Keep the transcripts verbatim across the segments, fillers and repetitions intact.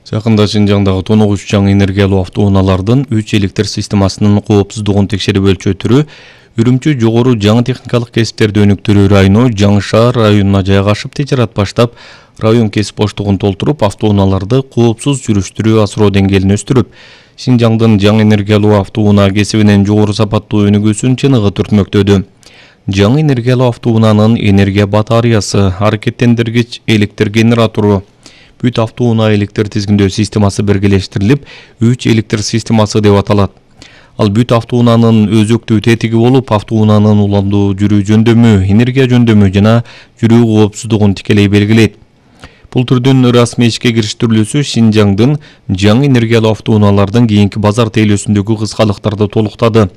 Жакында Шинжаңдагы тоногуч жаңы энергиялуу автоунаалардын үч электр системасынын коопсуздугун текшерип өлчөө түрү Үрүмчү жогору жаңы техникалык кесиптерди өнүктүрүү району Жаңы шаар районуна жайгашып тижарат баштап, район кесип боштугун толтуруп, автоунааларды коопсуз жүрүштүрүү асыроо деңгээлин өстүрүп, Шинжаңдын жаңы энергиялуу автоунаа кесибинин жогору сапаттуу өнүгүүсүн чыныгы түртмөктөдү. Жаңы энергиялуу автоунаанын энергия батареясы, аракеттендиргич электр генератору, бүт автоунаа электр тизгиндөө системасы биргелештирилип, үч электр системасы деп аталат. Ал бүт автоунаанын өзөктүү тетиги болуп, автоунаанын уламдуу жүрүү жөндөмү, энергия жөндөмү жана жүрүү коопсуздугун тикелей белгилейт. Бул түрдүн расмий ишке кириштирилүүсү Шинжаңдын жаңы энергиялуу автоунаалардын кийинки базар тейлөөсүндөгү кыскалыктарды толуктады.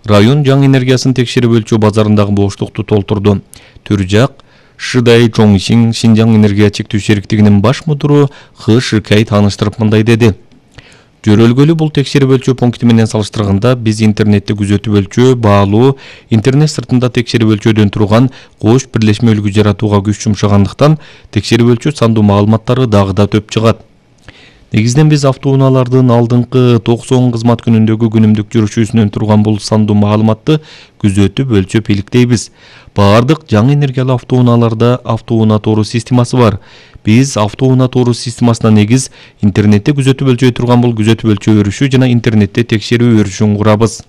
Район жаңы энергиясын текшерип өлчөө базарындагы боштукту толтурду. Түржак Шыдай Чоңшин Шинжаң энергия чектөө шериктигинин баш мудуру Х Шыкай тааныштырып мындай деди. Жөрөлгөлү бул текшерип өлчөө пункти менен салыштырганда биз интернетти күзөтүп өлчөө, баалуу, интернет сыртында текшерип өлчөөдөн турган кош бирлешме үлгү жаратууга күч жумшагандыктан текшерип өлчөө сандуу маалыматтары дагы да төп чыгат. Негизинен биз автоунаалардын алдыңкы токсон кызмат күнүндөгү күнүмдүк жүрүшүнөн турган бул сандуу маалыматты күзөтүп өлчөп иликтейбиз. Баардык жаңы энергиялуу автоунааларда автоунаа тору системасы бар. Биз автоунаа тору системасына негиз интернетте күзөтүп өлчөй турган бул күзөтүп өлчөө өрүшү жана интернетте текшерүү өрүшүн курабыз.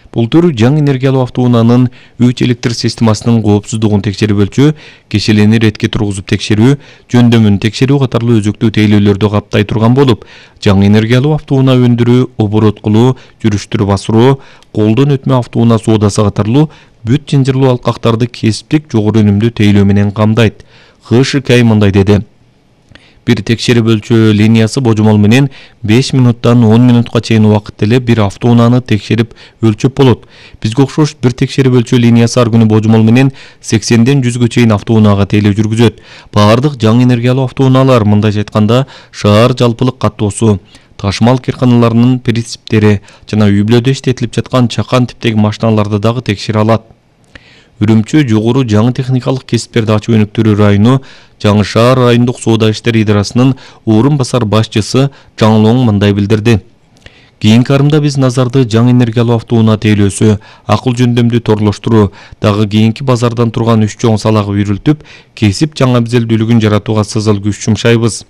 Бул түр жаңы энергиялуу автоунаанын үч электр системасынын коопсуздугун текшерип өлчөө, кешелени ретке тургузуп текшерүү, жөндөмүн текшерүү катарлуу өзөктүү тейлөөлөрдү каптай турган болуп, жаңы энергиялуу автоунаа өндүрүү, оборот кылуу, жүрүштүрүп асыруу, колдон өтмө автоунаа соодасы катарлуу бүт жынжырлуу алкактарды кесиптик жогору өнүмдүү тейлөө менен камдайт. Х Шыкай мындай деди. Бир текшерип өлчөө линиясы божомол менен беш минуттан он минутка чейин убакытта эле бир автоунааны текшерип өлчөп болот. Бизге окшош бир текшерип өлчөө линиясы ар күнү божомол менен сексенден жүзгө чейин автоунаага тейлөө жүргүзөт. Баардык жаңы энергиялуу автоунаалар, мындайча айтканда, шаар жалпылык каттоосу, ташмал кырканаларынын принциптери жана үй-бүлөдө иштетилип жаткан чакан типтеги машиналарды дагы текшере алат. Үрүмчү жогору жаңы техникалык кесиптерди ачып өнүктүрүү району Жаңы шаар райондук соода иштери идарасынын орун басар башчысы Жаңлоң мындай билдирди. Кийинки арымда биз назарды жаңы энергиялуу автоунаа тейлөөсү, акыл жөндөмдү торлоштуруу, дагы кийинки базардан турган үч чоң салага үйрүлтүп, кесип жаңы абзелдүүлүгүн жаратууга сызыл күч жумшайбыз.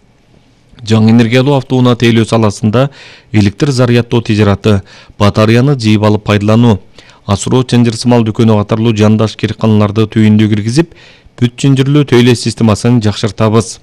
Жаңы энергиялуу автоунаа тейлөө саласында электр заряддоо тижараты, батареяны жыйып алып пайдалануу, асыроо чынжырсымал дүкөнү катарлуу жандаш кирканаларды түйүндө киргизип, бүт жынжырлуу тейлөө системасын жакшыртабыз.